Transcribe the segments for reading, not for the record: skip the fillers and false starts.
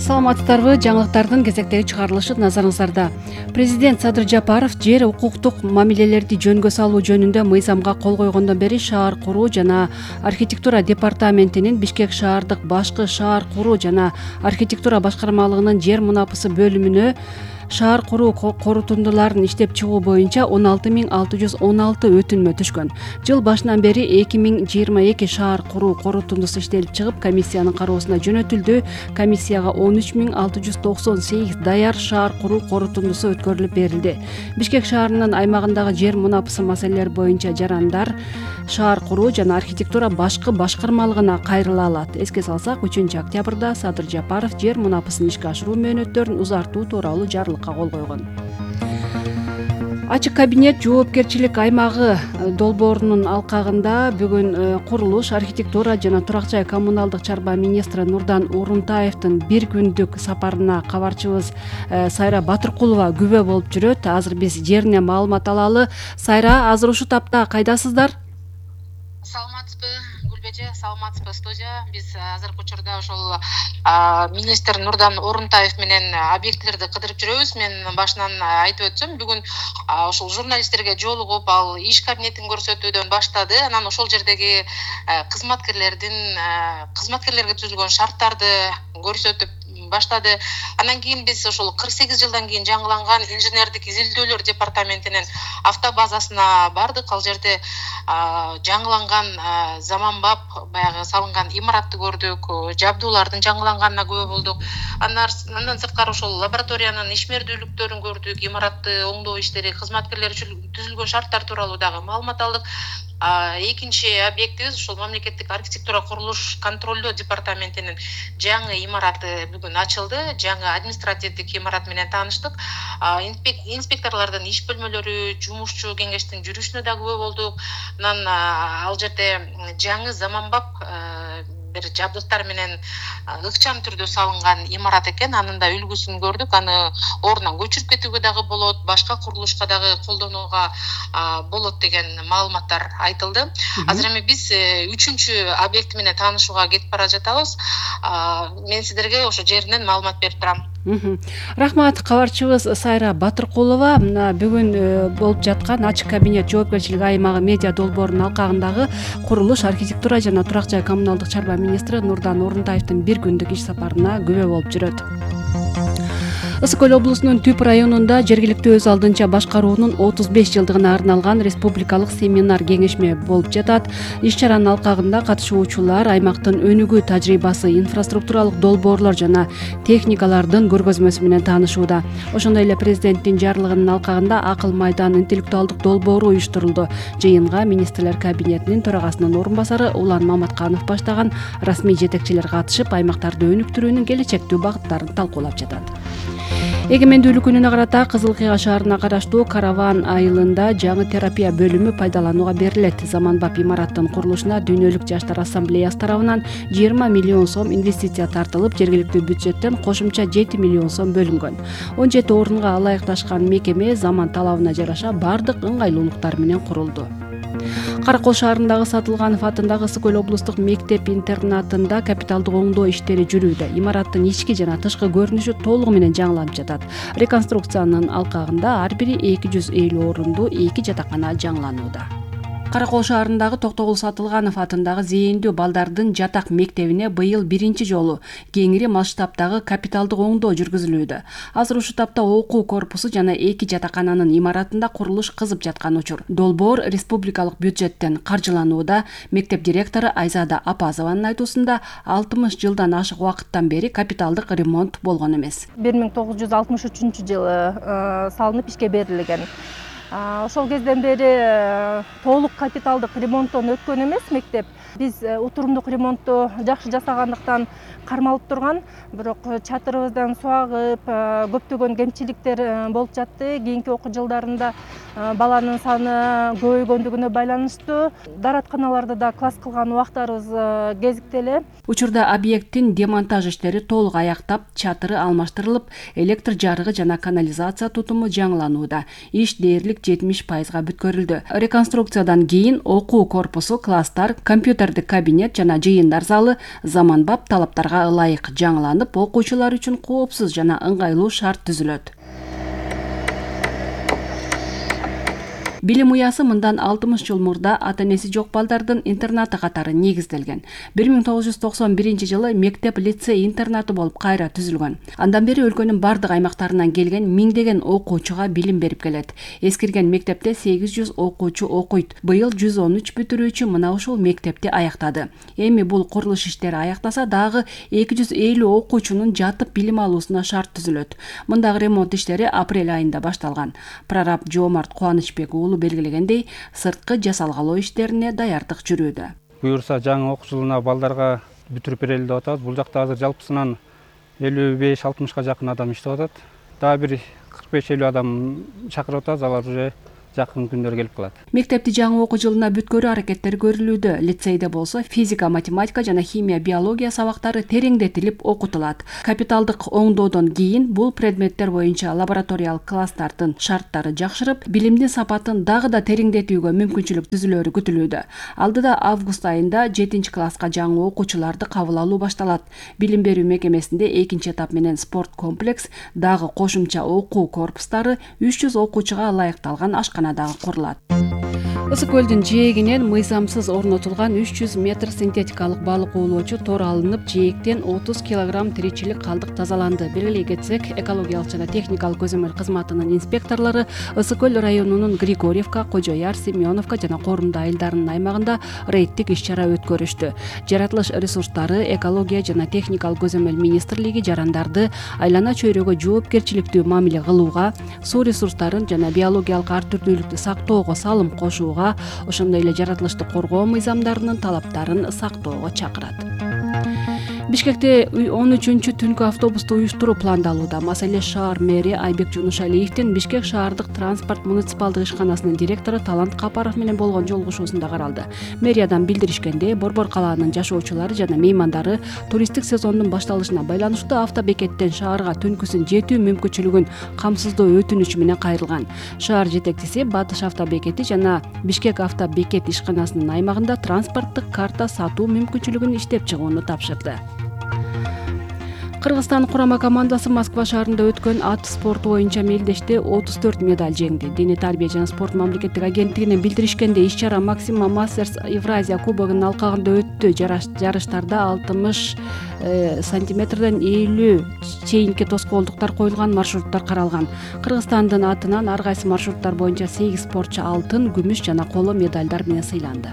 Саламатсыздарбы? Жаңылыктардын кезектеги чыгарылышы назарыңыздарда. Президент Садыр Жапаров жер укуктук мамилелерди жөнгө салуу жөнүндө мыйзамга кол койгондон бери шаар куруу жана архитектура департаментинин Бишкек шаардык башкы шаар куруу жана архитектура башкармалыгынын жер мунапысы бөлүмүнө шаар куруу корутундуларын иштеп чыгуу боюнча 16.616 өтүнмө түшкөн. Жыл башынан бери 2022 шаар куруу корутундусу иштелип чыгып, комиссиянын кароосуна жөнөтүлдү. Комиссияга 13.698 даяр шаар куруу корутундусу өткөрүлүп берилди. Бишкек шаарынын аймагындагы жер мунапысы маселелери боюнча жарандар шаар куруу жана архитектура башкы башкармалыгына кайрыла алат. Эске салсак, 3-октябрда Садыр Жапаров жер мунапысын ишке ашыруу мөөнөттөрүн узартуу тууралуу жарлыкка кол койгон. Ачык кабинет жоопкерчилик аймагы долбоорунун алкагында бүгүн курулуш, архитектура жана турак жай коммуналдык чарба министри Нурдан Орунтаевдин бир күндүк сапарына кабарчыбыз Сайра Батыркулова күбө болуп жүрөт. Азыр биз жеринен маалымат алалы. Сайра, азыр ушул тапта кайдасыздар? Саламатсызбы, Гүлбеже, саламатсызбы, студия. Биз азыркы учурда ошол министр Нурдан Орунтаев менен объектилерди кыдырып жүрөбүз. Мен башынан айтып өтсөм, бүгүн ошол журналисттерге жолугуп, ал иш кабинетин көрсөтүүдөн баштады. Анан ошол жердеги кызматкерлерге түзүлгөн шарттарды көрсөтүп баштады. Анан кийин биз ошол 48 жылдан кийин жаңыланган инженердик изилдөөлөр департаментинин автобазасына бардык. Ал жерде жаңыланган заманбап баягы салынган имаратты көрдүк, жабдуулардын жаңыланганына күбө болдук. Андан сырткары ошол лабораториянын ишмердүүлүктөрүн көрдүк, имаратты оңдоо иштери, кызматкерлер түзүлгөн шарттар тууралуу дагы маалымат алдык. Экинчи объектибиз ошол мамлекеттик архитектура курулуш контролдоо департаментинин жаңы имараты бүгүн ачылды. Жаңы административдик имарат менен тааныштык. Инспекторлордун иш бөлмөлөрү, жумушчу кеңештин жүрүшүнө да күбө болдук. Анан ал жерде жаңы заманбап бир жабдыктар менен ыкчам түрдө салынган имарат экен. Анын да үлгүсүн көрдүк. Аны ордунан көчүрүп кетүүгө дагы болот, башка курулушка дагы колдонууга болот деген маалыматтар айтылды. Азыр эми биз 3-чү объект менен таанышууга кетип бара жатабыз. Мен сиздерге ошо жеринен маалымат берип турам. Рахмат, кабарчыбыз Сайра Батыркулова. Бүгүн болуп жаткан ачык кабинет жоопкерчилик аймагы медиа долбоорунун алкагындагы курулуш, архитектура жана турак жай коммуналдык чарба министри Нурдан Орунтаевдин бир күндүк иш сапарына күбө болуп жүрөт. Ысык Көл облусунун Түп районунда жергиликтүү өз алдынча башкаруунун 35 жылдыгына арналган республикалык семинар кеңешме болуп жатат. Иш-чаранын алкагында катышуучулар аймактын өнүгүү тажрыйбасы, инфраструктуралык долбоорлор жана техникалардын көргөзмөсү менен таанышууда. Ошондой эле президенттин жарлыгынын алкагында Акыл майдан интеллектуалдык долбоору уюштурулду. Жыйынга министрлер кабинетинин төрагасынын орун басары Улан Маматканов баштаган расмий жетекчилер катышып, аймактарды өнүктүрүүнүн келечектүү багыттарын талкуулап жатат. Эгемендүүлүк күнүнө карата Кызыл Кыйга шаарына караштуу Караван айылында жаңы терапия бөлүмү пайдаланууга берилет. Заманбап имараттын курулушуна Дүйнөлүк жаштар ассамблеясы тарабынан 20 миллион сом инвестиция тартылып, жергиликтүү бюджеттен кошумча 7 миллион сом бөлүнгөн. 17 орунга ылайыкташкан мекеме заман талабына жараша бардык ыңгайлуулуктар менен курулду. Каракол шаарындагы Сатылганов атындагы Ысык Көл облустук мектеп-интернатында капиталдык оңдоо иштери жүрүүдө. Имараттын ички жана тышкы көрүнүшү толугу менен жаңыланып жатат. Реконструкциянын алкагында ар бири 250 орунду 2 жатакана жаңыланууда. Каракол шаарындагы Токтогул Сатылганов атындагы зээндүү балдардын жатак мектебине быйыл биринчи жолу кеңири масштабтагы капиталдык оңдоо жүргүзүлүүдө. Азыр ушул тапта окуу корпусу жана 2 жатакананын имаратында курулуш кызып жаткан учур. Долбоор республикалык бюджеттен каржыланууда. Мектеп директору Айзада Апазованын айтуусунда 60 жылдан ашык убакыттан бери капиталдык ремонт болгон эмес. 1963-жылы салынып ишке берилген. Ошол кезден бери толук капиталдык ремонттон өткөн эмес мектеп. Биз утурумдук ремонтту жакшы жасагандыктан кармалып турган, бирок чатырыбыздан суу агып, көптөгөн кемчиликтер болуп жатты. Кийинки окуу жылдарында баланын саны көбөйгөндүгүнө байланыштуу дааратканаларда да класс кылган убактарыбыз кезиктеле. Учурда объекттин демонтаж иштери толук аяктап, чатыры алмаштырылып, электр жарыгы жана канализация тутуму жаңыланууда. Иш дээрлик 70%га бүткөрүлдү. Реконструкциядан кийин окуу корпусу, класстар, компьютердик кабинет жана жыйындар залы заманбап талаптарга ылайык жаңыланып, окуучулар үчүн коопсуз жана ыңгайлуу шарт түзүлөт. Билим уясы мындан 60 жыл мурда ата-энеси жок балдардын интернаты катары негизделген. 1991-жылы мектеп-лицей интернаты болуп кайра түзүлгөн. Андан бери өлкөнүн бардык аймактарынан келген миңдеген окуучуга билим берип келет. Эскирген мектепте 800 окуучу окуйт. Быйыл 113 бүтүрүүчү мына ушул мектепти аяктады. Эми бул курулуш иштери аяктаса дагы 250 окуучунун жатып билим алуусуна шарт түзүлөт. Мындагы ремонт иштери апрель айында башталган. Прораб Жоомарт Кубанычбек белгилегендей, сырткы жасалгалоо иштерине даярдык жүрүүдө. Буюрса жаңы окуу жылына балдарга бүтүрүп берели деп атабыз. Бул жакта азыр жалпысынан 55-60га жакын адам иштеп атат. Дагы бир 45-50 адам чакырып атабыз, алар уже жакын күндөр келип калат. Мектепти жаңы окуу жылына бүткөрүү аракеттери көрүлүүдө. Лицейде болсо физика, математика жана химия, биология сабактары тереңдетилип окутулат. Капиталдык оңдоодон кийин бул предметтер боюнча лабораториялык класстардын шарттары жакшырып, билимдин сапатын дагы да тереңдетүүгө мүмкүнчүлүк түзүлөрү күтүлүүдө. Алдыда август айында 7-класска жаңы окуучуларды кабыл алуу башталат. Билим берүү мекемесинде 2-этап менен спорт комплекс, дагы кошумча окуу корпустары 300 окуучуга ылайыкталган ашкана дагы курулат. Ысык көлдүн жээгинен мыйзамсыз орнотулган 300 метр синтетикалык балык уулоочу тор алынып, жээктен 30 килограмм тиричилик калдык тазаланды. Белгилей кетсек, экологиялык жана техникалык көзөмөл кызматынын инспекторлору Ысык көл районунун Григорьевка, Кожояр, Семеновка жана Корумда айылдарынын аймагында рейдтик иш-чара өткөрүштү. Жаратылыш ресурстары, экология жана техникалык көзөмөл министрлиги жарандарды айлана чөйрөгө жоопкерчиликтүү мамиле кылууга, суу ресурстарын жана биологиялык ар түрдүүлүктү сактоого салым кошууга, ошондой эле жаратылышты коргоо мыйзамдарынын талаптарын сактоого чакырат. Бишкекте 13-түнкү автобусту уюштуруу пландалууда. Маселе шаар мэри Айбек Жунушалиевдин Бишкек шаардык транспорт муниципалдык ишканасынын директору Талант Капаров менен болгон жолугушуусунда каралды. Мэриядан билдиришкендей, Борбор калаанын жашоочулары жана меймандары туристтик сезондун башталышына байланыштуу автобекеттен шаарга түнкүсүн жетүү мүмкүнчүлүгүн камсыздоо өтүнүчү менен кайрылган. Шаар жетекчиси Батыш автобекети жана Бишкек автобекет ишканасынын аймагында транспорттук карта сатуу мүмкүнчүлүгүн иштеп чыгууну тапшырды. Кыргызстан курама командасы Москва шаарында өткөн ат спорту боюнча мелдеште 34 медаль жеңди. Дене тарбия жана спорт мамлекеттик агенттигинин билдиришкенде, иш-чара Максима Мастерс Евразия кубогунун алкагында өттү. Жарыштарда 60 сантиметрден 50 чейинки тоскоолдуктар коюлган маршруттар каралган. Кыргызстандын атынан ар кайсы маршруттар боюнча 8 спортчу алтын, күмүш жана коло медальдар менен сыйланды.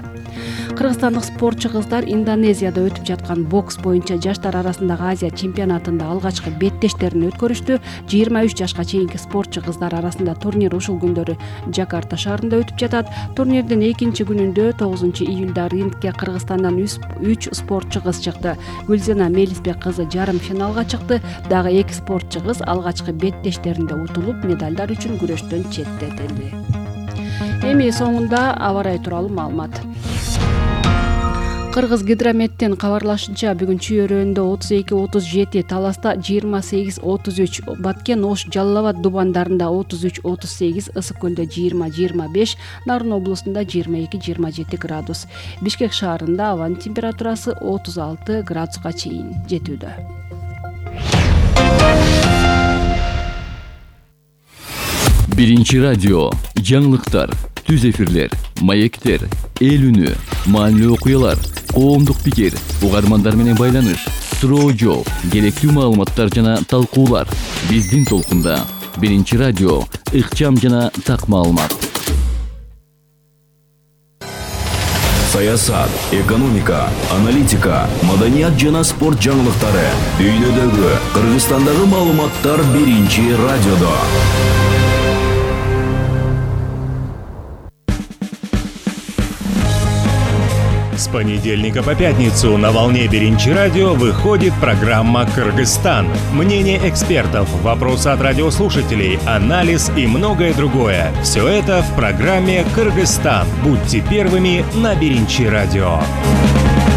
Кыргызстандык спортчу кыздар Индонезияда өтүп жаткан бокс боюнча жаштар арасындагы Азия чемпионатында алгачкы беттештерин өткөрүштү. 23 жашка чейинки спортчу кыздар арасында турнир ушул күндөрү Жакарта шаарында өтүп жатат. Турнирдин экинчи күнүндө 9 июлда рингке Кыргызстандан 3 спортчу кыз чыкты. Гүлзена Мелисбек кызы жарым финалга чыкты. Дагы 2 спортчу кыз алгачкы беттештеринде утулуп, медальдар үчүн күрөштөн четтетилди. Эми соңунда аба ырайы тууралуу маалымат. Кыргыз гидрометтин кабарлашынча, бүгүн Чүйөрөндө 32-37, Таласта 28-33, Баткен, Ош, Жалал Абад дубандарында 33-38, Ысык көлдө 20-25, Нарын облусунда 22-27 градус. Бишкек шаарында абанын температурасы 36 градуска чейин жетүүдө. Биринчи радио, жаңылыктар, түз эфирлер, маектер, эл үнү, маанилүү окуялар, коомдук пикир, угармандар менен байланыш, суроо жооп, керектүү маалыматтар жана талкуулар. Биздин толкунда. Биринчи радио, ыкчам жана так маалымат. Саясат, экономика, аналитика, маданият жана спорт жаңылыктары. Дүйнөдөгү, Кыргызстандагы маалыматтар биринчи радиодо. понедельника по пятницу на волне Биринчи радио выходит программа «Кыргызстан». Мнение экспертов, вопросы от радиослушателей, анализ и многое другое. Все это в программе «Кыргызстан». Будьте первыми на Биринчи радио.